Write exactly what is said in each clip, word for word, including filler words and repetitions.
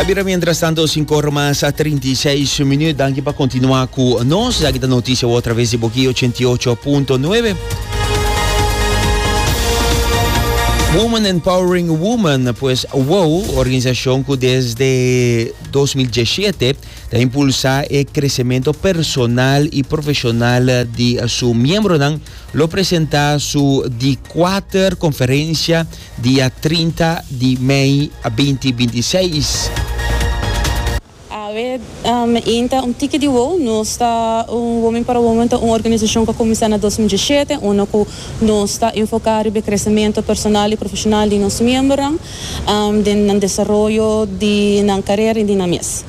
A bira mientrastanto sinku or mas trinta i seis minuut. Danki pa continua cu nos. Aki ta noticia otra bes di Boki ochenta i ocho punto nuebe. Women Empowering Women, pues WOW, organisacion cu desde dos mil diesshete ta impulsa e crecemento personal y profesional di su miembronan, lo presenta su di cuater conferencia dia trinta di mei dos mil bintiseis. Awe, um, inta un tiki di WOW, nos ta un Women Empower Women, ta un organisacion cu a cuminsa na dos mil diesshete, unda cu nos ta enfoca den crecemento personal y profesional di nos miembronan, um, den desaroyo di nan carera y di nan mes.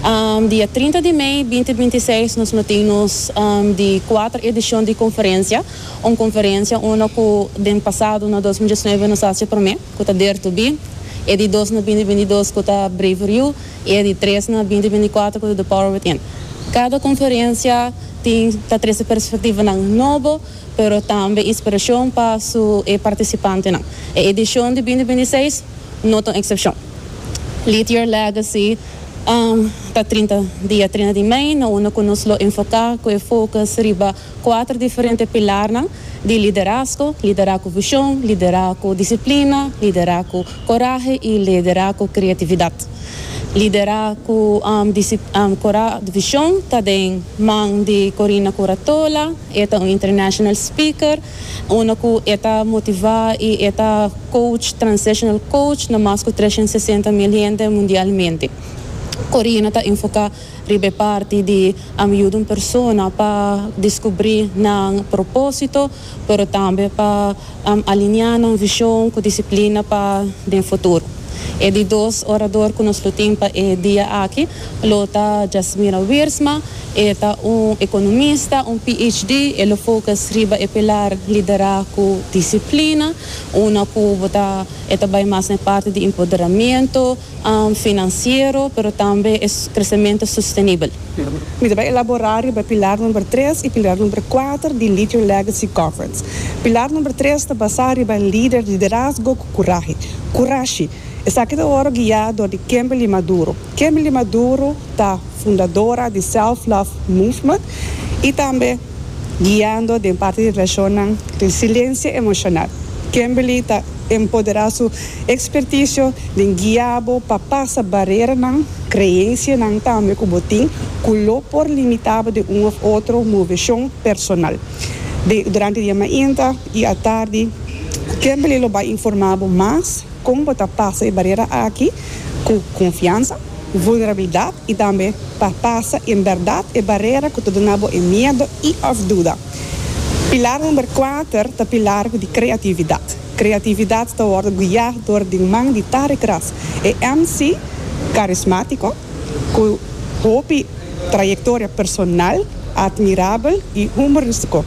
Um, dia trinta di mei dos mil bintiseis nos tin um, di cuater edicion di conferencia, un conferencia unda cu den pasado na dos mil diesnuebe nos a haci prome, cu ta Dare to Be, e di dos na dos mil bintidos cu ta Braver You y di tres na dos mil binticuater cu ta The Power Within. Cada conferencia tin ta trece perspectivanan nobo, pero tambe inspiracion pa su participantenan. E edicion di dos mil bintiseis no ta un excepcion. Lead Your Legacy um, ta trinta, dia trinta di mei, na unda cu nos lo enfoca cu focus riba cuater diferente pilar di liderazgo: liderazgo vision, liderazgo disciplina, liderazgo corahe y liderazgo creatividad. Liderazgo um, um, vision ta den man di Corina Curatola, e ta un international speaker, unda cu ta motiva y ta coach, transitional coach, na mas cu trescientos sesenta mil hende mundialmente. Corina ta enfoca riba parti di yuda un persona pa descubri nan proposito, pero tambe pa um, alinea nan vision cu disciplina pa e futuro. E di dos orador cu nos tin pa e dia aki, lo ta Jasmina Wiersma, e ta un economista, un P H D, e lo focus riba e pilar liderazgo disciplina, unda cu ta e ta mas na parti di empoderamento um, financiero, pero tambe e crecemento sostenibel. Mi ta bay elabora e pilar number tres y pilar number cuater di Lead Your Legacy Conference. Pilar number tres ta basa riba lider, liderazgo cu corahe. Corahe. Esaki ta wordo guia door di Kimberly Maduro. Kimberly Maduro ta fundadora di Self Love Movement y tambe guiando den parti di relacion resiliencia emocional. Kimberly ta empodera su expertise di guia pa pasa bareranan, creencianan tambe cu bo tin, cu lo por limita di un of otro movecion personal. De, durante dia mainta y atardi, Kimberly lo bay informa mas con bo ta pasa e barera aki cu confiansa, vulnerabilidad y tambe pa pasa en berdad e barera cu ta duna bo miedo y of duda. Pilar number cuater ta pilar di creatividad. Creatividad ta wordo guia door di man di Tarek Ras. E M C carismatico, cu hopi trayectoria personal, admirabel y humoristico.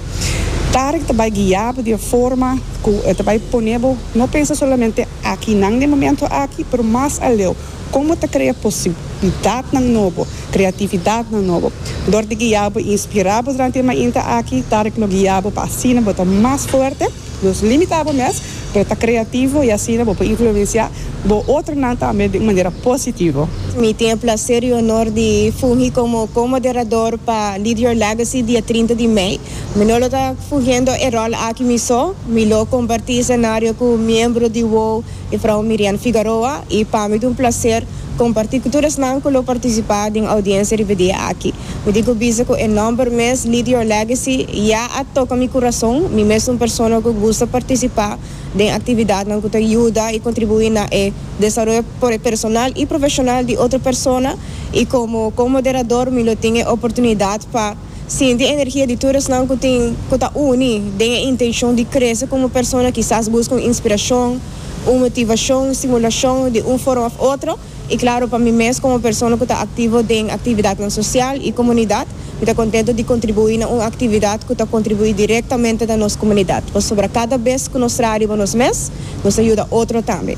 Tarek ta bay guia di forma cu ta bay pone no pensa solamente aki na e momento aki, pero mas aleu. Con ta crea posibilidadnan nobo, creatividadnan nobo. Door di guia y inspira durante e mainta aki, Tarek lo guia pa asina bo ta mas fuerte, no limita mes, pero ta creativo y asina bo influencia bo otronan tambe di manera positivo. Mi tin e placer y honor di fungi como co-moderador pa Lead Your Legacy dia trinta di mei. Mi no ta fungiendo e rol aki mi so, mi lo comparti scenario cu miembro di WOW, juffrouw Miriam Figueroa, y pa mi ta un placer comparti cu tur esnan cu lo participa den audiencia e dia aki. Mi tin cu bisa cu e nomber mes, Lead Your Legacy, ya a toca mi curason. Mi mes ta un persona cu gusta participa den actividadnan cu ta yuda y contribui na e desaroyo personal y profesional di otro persona y como como moderador mi lo tin e oportunidad pa sinti energia di tur esnan cu tin cu ta uni den e intencion di crece como persona, kisas busca inspiracion, un motivacion, stimulacion di un forma of otro. Y claro, pa mi mes como persona cu ta activo den actividad social y comunidad, mi ta contento di contribui na un actividad cu ta contribui directamente na nos comunidad. Pasobra cada bes cu nos traha nos mes, nos ta yuda otro tambe.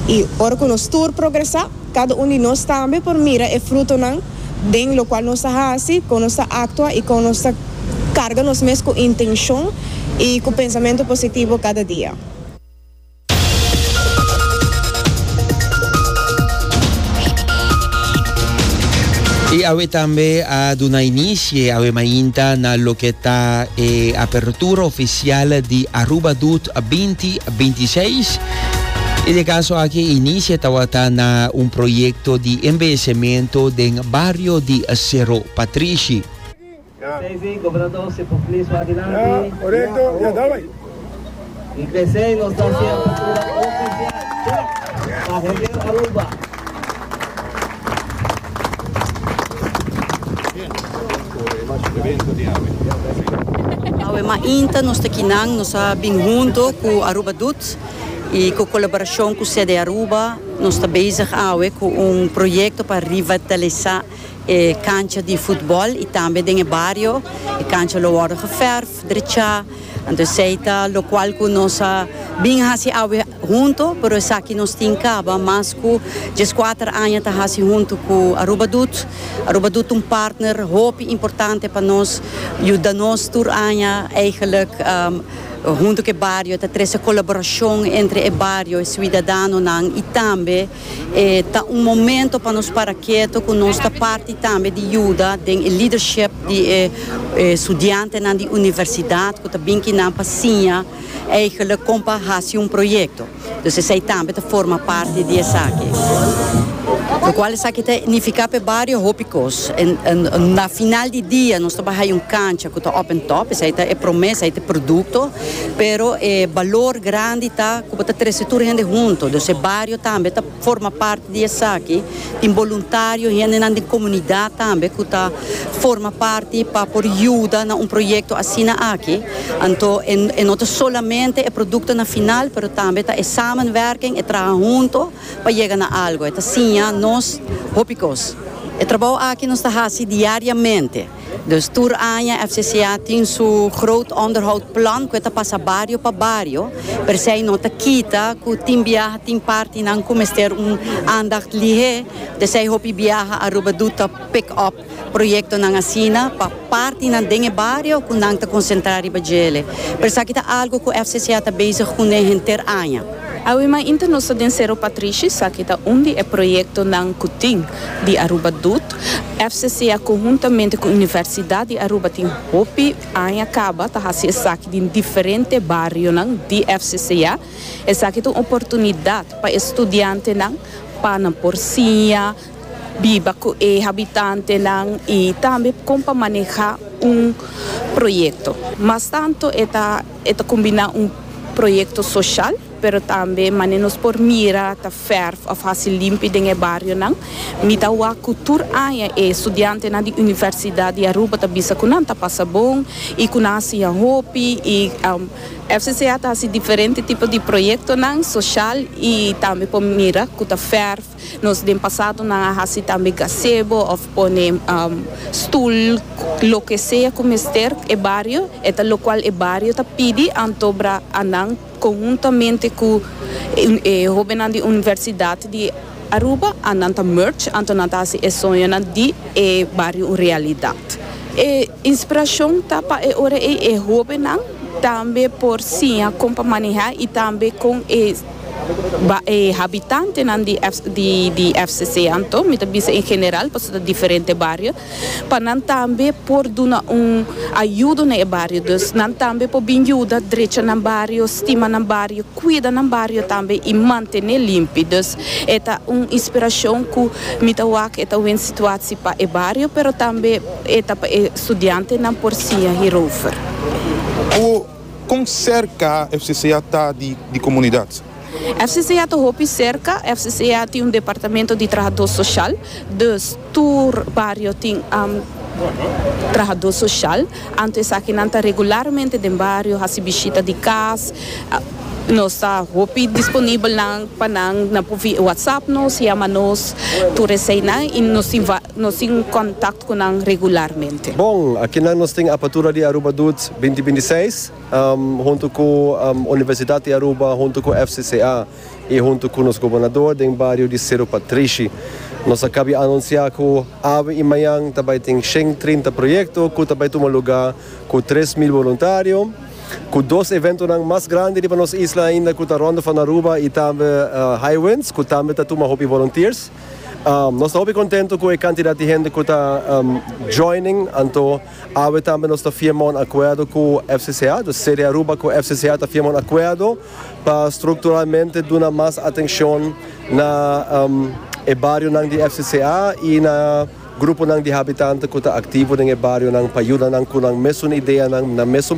Y ora cu nos tur progresa, cada un di nos tambe por mira e frutonan den loke nos ta haci, con nos ta actua y con nos ta carga nos mes cu intencion y cu pensamento positivo cada dia. Y awe tambe a duna inicio awe mainta na loke ta eh, apertura oficial di Aruba Doet dos mil bintiseis. Y den e caso aki inicio tabata na un proyecto di embeyecimento den bario di Sero Patrishi. Sí, gobernador, si por please, adelante. Ya, correcto, ya, dale. Y p'esey nos ta haciendo apertura oficial pa henter Aruba. Awe mainta nos ta akinan, nos a bin hunto cu Aruba Doet y cu colaboracion cu C D Aruba, nos ta bezig awe cu un proyecto pa revitalisa e cancha di futbol y tambe den bario. E cancha lo wordo geverf, drecha, anto esey ta locual cu nos a bin hasi awe hunto, pero esaki nos tin caba mas cu diescuater aña ta hasi hunto cu Aruba Doet. Aruba Doet un partner hopi importante pa nos, yuda nos tur aña eigenlijk um, hunto cu e bario, ta trece colaboracion entre e bario y ciudadanonan y tambe eh, ta un momento pa nos para keto cu nos ta parti tambe di yuda den leadership di eh, eh, studiantenan di universidad cu ta bin akinan pa siña eigenlijk con pa haci un proyecto. Dus esey tambe ta forma parti di esaki. Locual esaki ta nifica pa bario hopi cos. En, en, na final di dia nos ta bay un cancha cu ta up and top, esey ta e promesa, esey ta producto, pero e balor grandi ta cu ta trece tur hende hunto. Dus e bario tambe ta forma parti di esaki, tin voluntario, hende na comunidad tambe cu ta forma parti pa por yuda na un proyecto asina aki. Anto, en, en no solamente e producto na final, pero tambe ta e samenwerking, e traha hunto pa yega na algo. Ta asina, nos hopi cos. E trabou aki nos ta haci diariamente. Dus tur aña F C C A tin su groot onderhoudplan cu ta pasa bario pa bario. Pero esey no ta kita cu tin biaha, tin partinan cu mester un aandacht lihe. Dus esey hopi biaha Aruba Doet ta pick up proyectonan asina pa partinan den bario cu nan ta concentra riba dje. Pero esaki ta algo cu F C C A ta bezig cu henter aña. Awe mainta nos ta den Sero Patrishi, esaki ta un di e proyectonan cu tin di Aruba Doet. F C C A conhuntamente cu Universidad di Aruba tin hopi aña caba ta haci esaki den diferente barionan di F C C A. Esaki ta un oportunidad pa studiantenan pa nan por siña biba cu e habitantenan y tambe con pa maneha un proyecto. Mas tanto e ta e ta combina un proyecto social, pero tambe manera nos por mira ta verf of hasi limpi den e barionan. Mi ta wak cu tur aña e studiantenan di Universidad di Aruba ta bisa cu nan ta pasa bon y cu nan a siña hopi y um, F C C A ta hasi diferente tipo di proyectonan social y tambe por mira cu ta verf. Nos den pasado nan a hasi tambe gazebo of pone um, stoel, loke sea cu mester e bario, e ta locual e bario ta pidi, anto ora nan conhuntamente cu eh, hobennan di Universidad di Aruba, nan ta merge, anto nan ta hasi e soñonan di e bario un realidad. E inspiracion ta pa e ora e e hobennan tambe por siña con pa maneha y tambe cu e ba, e habitantenan di, F, di, di F C C, anto, mi ta bisa en general, pasobra diferente bario, pa nan tambe por duna un ayudo na e bario, dus nan tambe por bin yuda, drecha nan bario, stima nan bario, cuida nan bario tambe y mantene limpi. Dus e ta un inspiracion cu mi ta wak, e ta un situatie pa e bario, pero tambe e ta pa e studiantenan por siña hierover. O con cerca F C C A ta di, di comunidad? F C C A ta hopi cerca. F C C A tin un departamento di trahador social, dus tur bario tin um, trahador social. Anto esakinan ta regularmente den bario, hasi bishita di cas, nos ta hopi disponibel nan pa nan na via WhatsApp nos, yama nos, tur eseynan y nos tin nos tin contacto cu nan regularmente. Bon, aki nos tin apertura di Aruba Doet dos mil bintiseis, um, hunto cu um, Universidad di Aruba, hunto cu F C C A y hunto cu nos gobernador den bario di Sero Patrishi. Nos a caba di anuncia cu awe y mañan tambe tin shen trinta proyecto, cu tambe ta tuma luga cu tres mil voluntario, cu dos evento mas grandi di nos isla ainda, cu e Ronde van Aruba y tambe uh, High Winds, cu tambe ta tuma hopi volunteers. Um, nos ta hopi contento cu e cantidad di hende cu ta um, joining, anto awe tambe nos ta firma un acuerdo cu F C C A, dus C D Aruba cu F C C A ta firma un acuerdo pa structuralmente duna mas atencion na um, e bario nan di F C C A y na grupo nan di habitante cu ta activo den e bario nan pa yuda nan cu nan mesun idea nan, nan mesun.